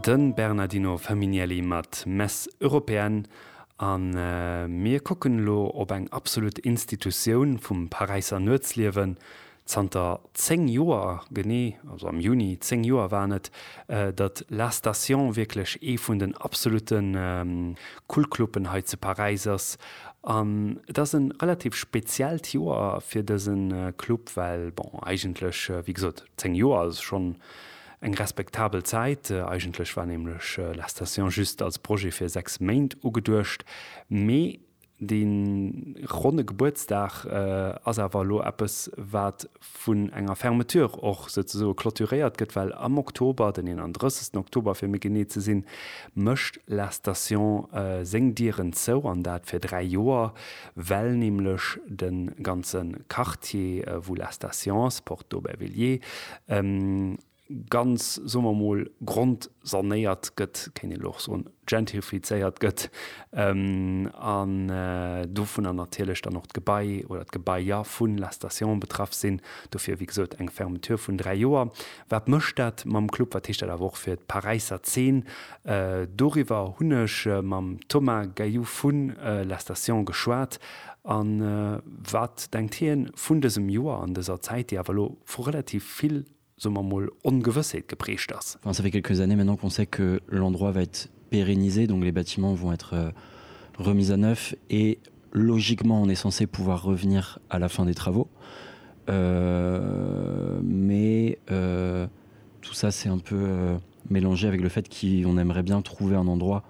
De Bernardino Ferminielli mat Messe Européenne. A mir kucken elo op eng absolut Institutioun vum Paräisser Nuetsliewen. Zanter 10 Joer, genee, also am Juni 10 Joer waren et, datt La Station wierklech ee vun den absolute Kultcluben hei zu Paräis ass. An et ass e relativ speziellt Joer fir dëse Club, well, bon, eigentlech, wéi gesot, 10 Joer ass schonn eng respektabel Zäit. Eigentlech war nämlech La Station just als Projet fir 6 Méint ugeduecht, mee dee ronne Gebuertsdag ass awer elo eppes, wat vun enger Fermeture och souzesoe clôturéiert gëtt, well am Oktober, den 31. Oktober fir méi genee ze sinn, mécht La Station seng Dieren zou, an dat fir 3 Joer, well nämlech de ganze Quartier, wou La Station ass, Porte d'Aubervilliers, ganz, soe mer emol, grondsanéiert gëtt, kéint een elo och soen, gentrifizéiert gëtt, an dovunner natierlech dann och d'Gebai oder d'Gebaier vu La Station betraff sinn. Dofir, wéi gesot, eng Fermeture vun 3 Joer. Wat mécht dat mam Club? Wat heescht dat awer och fir d'Paräisser Zeen? Doriwwer hunn ech mam Thomas Gayou vu La Station geschwat. A wat denkt hien vun dësem Joer an dëser Zäit, déi awer elo vu relativ vill soe mer mol, Ongewëssheet geprägt ass. Enfin, ça fait quelques années maintenant qu'on sait que l'endroit va être pérennisé, donc les bâtiments vont être euh, remis à neuf et logiquement on est censé pouvoir revenir à la fin des travaux. Euh, mais euh, tout ça c'est un peu euh, mélangé avec le fait qu'on aimerait bien trouver un endroit.